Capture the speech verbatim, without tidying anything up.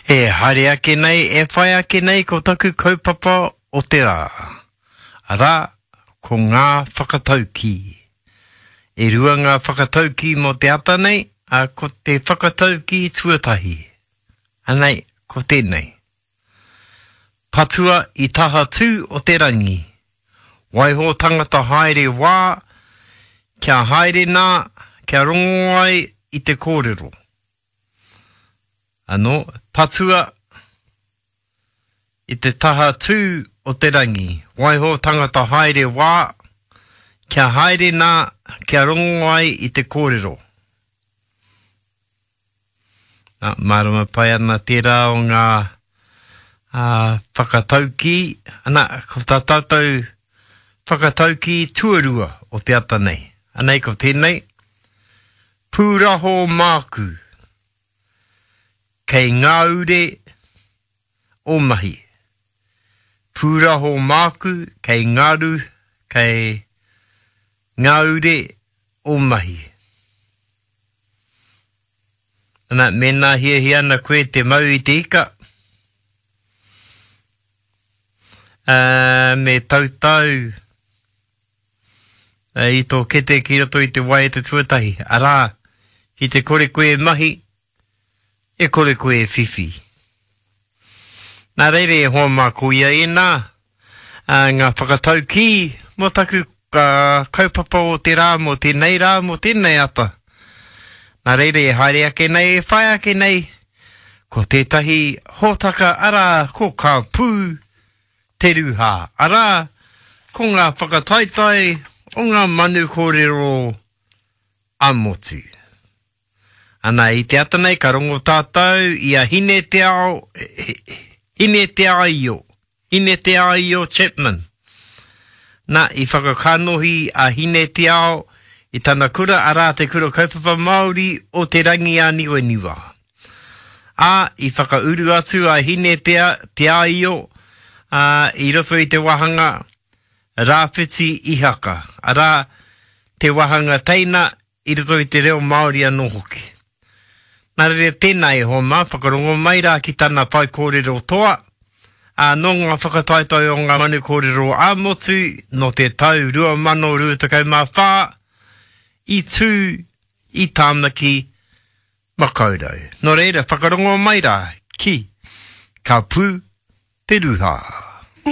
E haere ake nei, e whai ake nei ko taku kaupapa o te rā. Arā, ko ngā whakataukī. E rua ngā whakataukī mō te ata nei, ā, ko te whakataukī tuatahi. Anei, ko tēnei. Patua i taha tū o te rangi. Waiho tangata haere wā, kia haere nā, kia rongo ai i te kōrero. Anō, patua i te taha tū o te rangi. Waiho tangata haere wā, kia haere nā, kia rongo ai i te kōrero. Nā, mārama pai ana tērā o ngā ā, whakataukī. Ana, ko tā tātou whakataukī tuarua o te ata nei. Anei ko tēnei, pūraho māku. Kei ngāure o mahi. Pūraho māku kei ngaru, kei ngāure o mahi. Ana, mēnā hiahia ana koe te mau i te ika, uh, me tautau uh, i tō kete ki roto i te wai e te tuatahi. Arā, ki te kore koe e mahi, e kore koe e whiwhi. Nā reira e hoa mā ko ia ēnā, uh, ngā whakataukī mō taku uh, kaupapa o te rā, mō tēnei rā, mō tēnei ata. Nā reira e haere ake nei, e whai ake nei, ko tētahi hōtaka arā ko Ka Pū Te Rūhā. Arā, ko ngā whakataetae o ngā manu kōrero ā-motu. Ana, i te ata nei ka rongo tātou i a Hine Te Ao, Hine Te Aio, Hine Te Aio Chapman. Nā, i whakakanohi a Hine Te Ao i tana kura, arā te kura kaupapa Māori o Te Rangiāniwaniwa. Ā, i whakauru atu a Hine Te, Te Aio ā, i roto i te wāhanga Rāwhiti Ihaka, arā te wāhanga teina i roto i te reo Māori anō hoki. Nā reira tēnā e hoa mā, whakarongo mai rā ki tana whaikōrero toa, ā, nō ngā whakataetae o ngā manu kōrero ā-motu nō te tau rua mano rua tekau mā whā i tū i Tāmaki Makaurau. Nō reira, whakarongo mai rā ki Ka Pū Te Rūhā.